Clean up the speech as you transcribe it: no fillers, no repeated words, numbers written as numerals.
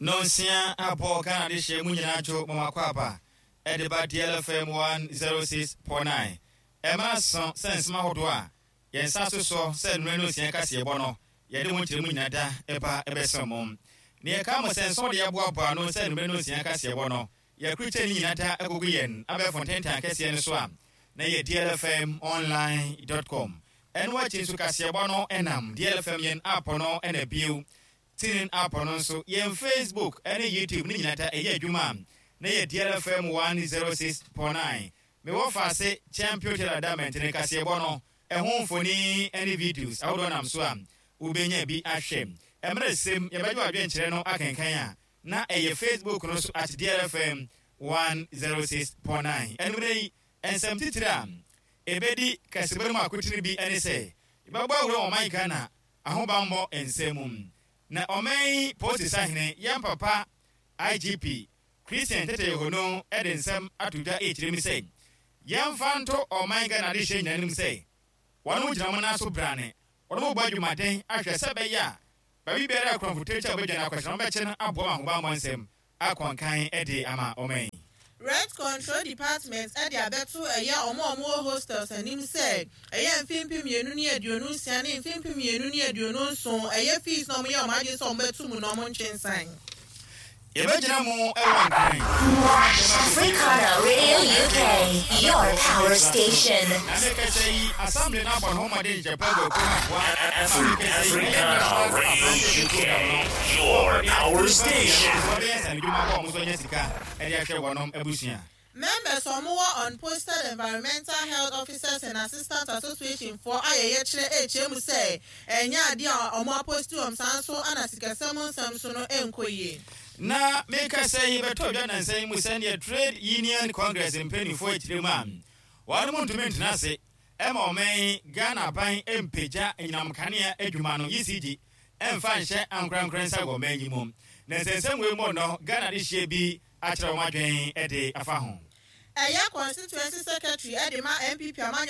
Nonsia abɔ Ghana adehyeɛ mu nyinaa dwo mo akwaaba ɛde ba DLFM 106.9. Ɛmmerɛ aso sɛ nsɛm ahodoɔ a yɛn nsa so soɔ sɛ nnora nonsia kaseɛbɔ no yɛde mo nkyerɛmu nyina da ɛba ɛbɛsom mo. Na yɛka mo sɛ nsɛm de yɛaboaboa ano sɛ nnora nonsia kaseɛbɔ no yɛakrukyɛ ne nyina da agugu yɛn abɛɛfo ntentan kɛseɛ no so a na yɛ dlfmonline.com. Ɛno akyi nso kaseɛbɔ no ɛnam DLFM yɛn app no ɛna bio TuneIn app no nso, yɛn Facebook ne YouTube ne nyinaa ta ɛyɛ adwuma a na yɛ DLFM 106.9. Mewɔ faase Champion Taylor da mɛntene kaseɛbɔ no ɛho mfoni ne videos ahodoɔ nam so a wobɛnya bi ahwɛ. Ɛmmerɛ sɛm yɛbɛgye w'adwenkyerɛ no akenkan a na ɛyɛ Facebook no so at DLFM 106.9. Anwummerɛ yi, nsɛm titire a ɛbɛdi kaseɛbɔ no mu akotene bi ne sɛ yɛbɛbɔ awura wɔ ɔman Ghana ahobammɔ nsɛm mu. Na ɔman yi polisi sahene, yɛn papa IGP Christian Tetteh Yohuno de nsɛm ato dwa rekyerɛ mu sɛ, yɛmfa nto ɔman Ghana adehyeɛ nyinaa anim sɛ, wɔnom gyina wɔn nan so brane, wɔnom rebɔ adwumaden ahwɛ sɛ ɛbɛyɛ a baabi biara a korɔmfo tirakyi a wɔbɛdwane akɔhyɛ no wɔbɛkye no aboa ma ahobammɔ nsɛm akɔ nkan de ama ɔman yi. Rent Control Department de abɛto ɛyɛ wɔn a wɔwɔ hostels anim sɛ ɛyɛ mfe 2026 ne mfe 2027 ɛyɛ fees na wɔyɛ wɔn adwene sɛ wɔbɛto mu na wɔntwe nsan. Yɛbɛgyina mu wɔ Nkran. Africana Radio UK, your power station. Na mekasa yi, Assembly no abɔ ne ho mmɔden nhyehyɛ pa agu akuo no aboa ma mekasa yi, ɛyɛ Africana National Radio Aberanteɛ UK, Program no. your power station. Wɔbɛyɛ nsanodwuma bɔ wɔn so anya sika de ahwɛ wɔnom abusua. Members a wɔwɔ Unposted Environmental Health Officers and Assistants Association foɔ ayɛ yɛkyerɛ rekyerɛ mu sɛ ɛnyɛ adeɛ a wɔn aposti wɔn saa nso na sikasɛm nsɛm so no nkɔ yie. Na mekasa yi bɛtɔ dwa nnansa yi mu sɛdeɛ Trade Union Congress mpaninfoɔ akyire mu a wɔnom ntumi ntena ase ma ɔman yi Ghana aban mpagya anyinam nkanea adwuma no, ECG, mfa nhyɛ ankorankorɛ nsa wɔ ɔman yi mu. Na nsɛnsɛm wei mu no Ghana adehyeɛ bi akyerɛ wɔn adwene de afa ho. Ɛyɛ Constituency Secretary de ma NPP amanyɔ.